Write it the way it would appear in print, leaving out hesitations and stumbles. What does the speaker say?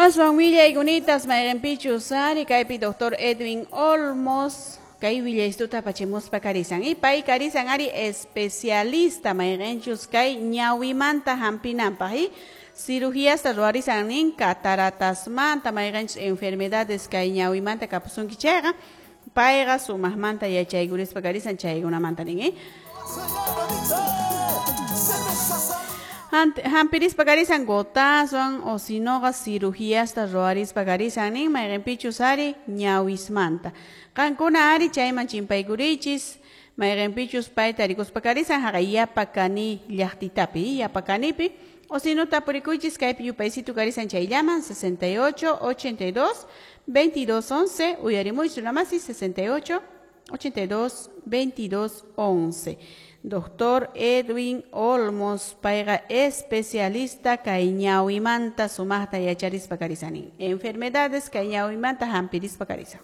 Aswan willaykunatas mayqinpichus ari kaypi doctor Edwin Olmos kay willaystuta apachimuspa karisan y pay karisan ari especialista mayqinchus kay ñawimanta hampinanpaq y cirugíasta ruwarisan nin cataratasmanta mayqinchus enfermedades kay ñawimanta kapusunki chayqa payqa sumaqmanta yachaykurispa karisan chaykunamanta nin. Hampirispa karisan gotaswan o sinoqa cirugíasta ruwarispa karisan nin mayqinpichus ari ñawismanta. Qankuna ari chayman chimpaykurichis mayqinpichus payta rikuspa karisan haqay Yapacani llaqtitapi Yapacanipi o sino tapurikuychis kaypi yupaysitu karisan chayllaman 68 82 22 11 uyarimuychu namasi 68 82 22 11. Doctor Edwin Olmos payqa especialista kay ñawimanta sumaqta yacharispa karisanin. Enfermedades kay ñawimanta hampirispa karisan.